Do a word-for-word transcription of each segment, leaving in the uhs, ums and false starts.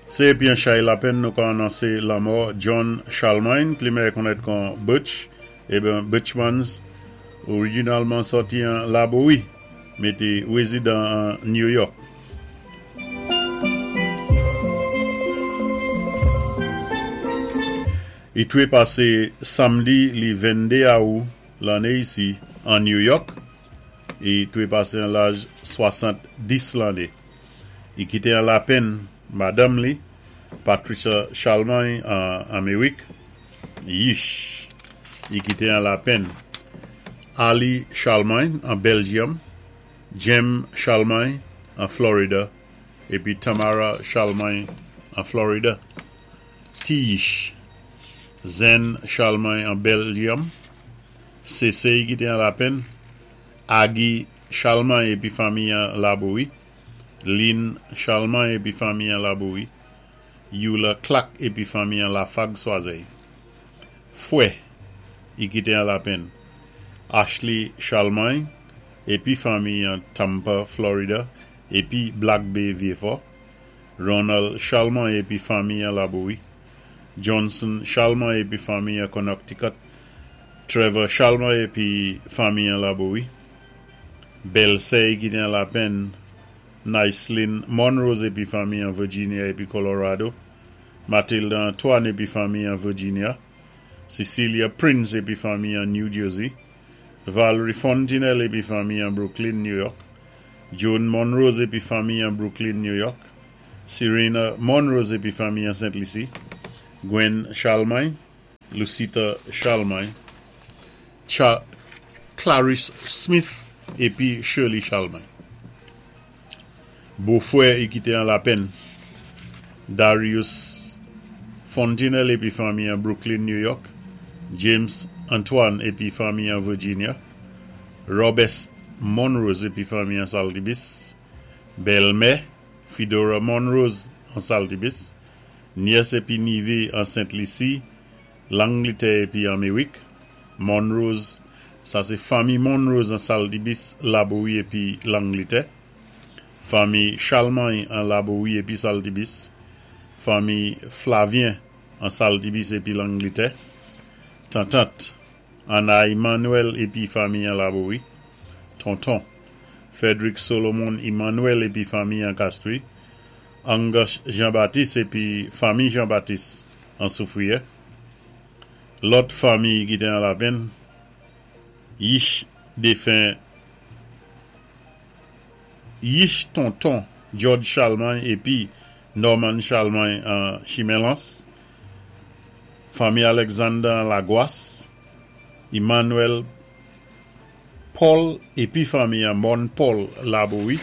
Sé épi an chay lapenn nou ka anonsé lanmò John Charlemagne, pli méyè konnèt kon Butch, ében Butchmans, orijinalman sòti an Labowi, mé té wézidan an New York. I twé pasé samdi li venndé awou lanné isi an New York, i twé pasé an laj swasanndis lanné. I kité an lapenn madanm li, Patricia Charlemagne an Améwik, Yish. I kité an lapenn Ali Charlemagne an Belgium, Jem Charlemagne an Florida, épi Tamara Charlemagne an Florida. Ti Yish, Zen Charlemagne an Belgium, Sésé i kité an lapenn, Agi Charlemagne épi fanmi an Labowi, Lynn Charlemagne épi fanmi an Labowi, Eula Clack épi fanmi an Lafag Swazèy. Fwè, i kité an lapenn Ashley Charlemagne épi fanmi an Tampa, Florida, épi Black Bay, Vyéfò, Ronald Charlemagne épi fanmi an Labowi, Johnson Charlemagne épi fanmi an Connecticut, Trevor Charlemagne épi fanmi an Labowi, Bèlsè i kité an lapenn Nicelyn Monrose épi fanmi an Virginia épi Colorado, Mathilde Antoine épi fanmi an Virginia, Cecilia Prince épi fanmi an New Jersey, Valerie Fontenelle épi fanmi an Brooklyn, New York, Joan Monrose épi fanmi an Brooklyn, New York, Serena Monrose épi fanmi an Saint Lucie, Gwen Charlemagne, Lucita Charlemagne, Cha Clarice Smith épi Shirley Charlemagne. Bofwè i kité an lapenn Darius Fontenelle épi fanmi an Brooklyn, New York, James Antoine épi fanmi an Virginia, Robert Monrose épi fanmi an Saltibis, Bèlmè Fedora Monrose an Saltibis, nyès épi nivé an Saint Lucie, Langletè épi Améwik, Monrose, sa sé fanmi Monrose an Saltibis, Labowi épi Langletè, fanmi Charlemagne an Labowi épi Saltibis, fanmi Flavien an Saltibis épi Langletè, tantant Anna Emmanuel épi fanmi an Labowi, tonton Frederick Solomon Emmanuel épi fanmi an Castries, Angus Jean-Baptiste épi fanmi Jean-Baptiste an Soufrière, lòt fanmi ki té an lapenn, Yish défen Yish tonton George Charlemagne épi Norman Charlemagne an Chimen Lans, fanmi Alexander an Lagwas, Emmanuel Paul épi fanmi an Mon Paul Labowi,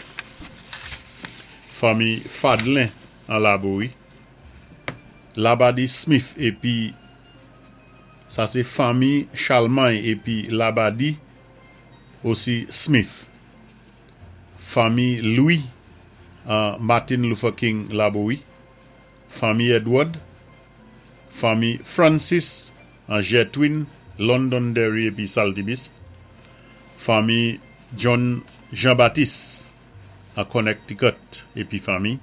fanmi Fadlin an Labowi, Labadi Smith épi sa sé fanmi Charlemagne épi Labadi osi Smith, fanmi Louis an Martin Luther King Labowi, fanmi Edward, fanmi Francis an Jetwin, Londonderry épi Saltibis, fanmi John Jean-Baptiste an Connecticut épi fanmi,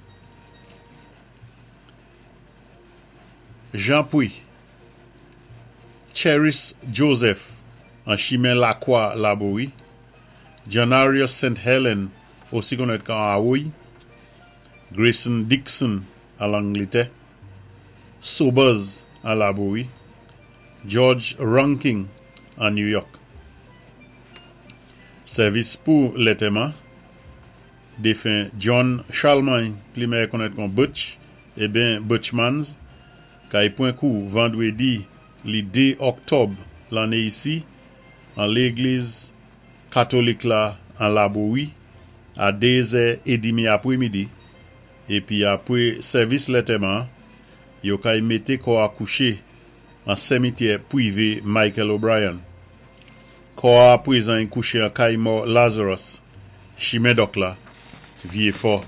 Jean Pouy, Cheris Joseph an Chimen Lakwa Labowi, Janarius Saint Helen osi konnèt kon Awoy, Grayson Dixon an Langletè, Sobers an Labowi, George Ranking an New York. Sèvis pou lantèman, défen John Charlemagne, pli méyè konnèt kon Butch, ében Butchmans, kay pwan kou vandwédi li dé òktòb lanné isi, an légliz katolik la an Labowi, a dézè édmi apwémidi, épi apwé sèvis lantèman, yo kay mété kò a kouché an simityè pwivé Michael O'Brien. Kò a pwézan kouché an kay mò Lazarus, Chimen Dòk la, Vyéfò.